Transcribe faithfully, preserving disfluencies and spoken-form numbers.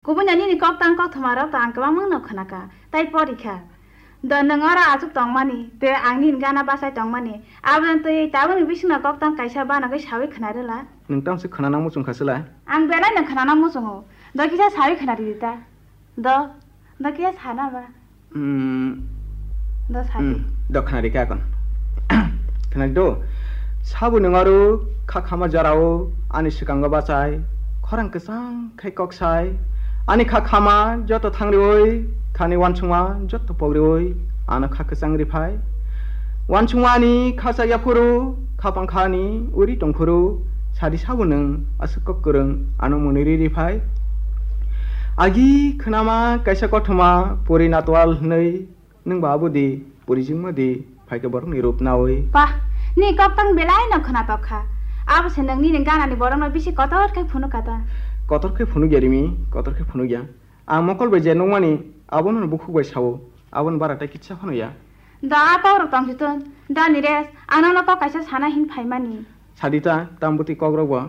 Kubui no nini kok tang kok thoma rok to ang kwbangma no khna kha, tai pori kha. Do nwng oro achuk tongmani, tei ang nini gana bachai tongmani, aboni twi tabukni bisingno kok tang kaisa banagwi sawi khna rwla. Nwng tamo se khna nang muchung kha se lai? Ang belai no khna nang muchungo, do kisa sawi khna ridi ta. Do, do kisa sana ba? Hmm. Do sadi. Hmm, do khna rikha kon. Khna do. Sabo nwng aro kha khama jorao ani swkango bachai, khorang kwchang khai kok sai. Ani kha khama joto thangriwi, khani wansukma joto pogriwi, ano kha kwchang riphai. Wansukma ani kha chaya phuru, kha pangkha ani uri tongphuru, sadi sabo nwng aswk kok kwrwng ano mwnwi ri riphai. Agi khwnama kaisa kothoma puri natwal hwnwi. Nwng ba abudi, purijwngma di, phaikhe borokni rup nawi. Pah, ni kok tang belai no khwnatok kha. Abo se nwng nini ganani borokno bisi kotor khe phunuk kha ta. Kotor khe phunuk ya rimi, kotor khe phunuk ya. Ang mokol bai je nukmani, abono bukhuk bai sao, aboni bara tei kisa phano ya. Da a kok rok tong si tun, da ni res, ang nono kok kaisa sana hin phaimani. Sadi ta, tam bwtwi kok rok bo.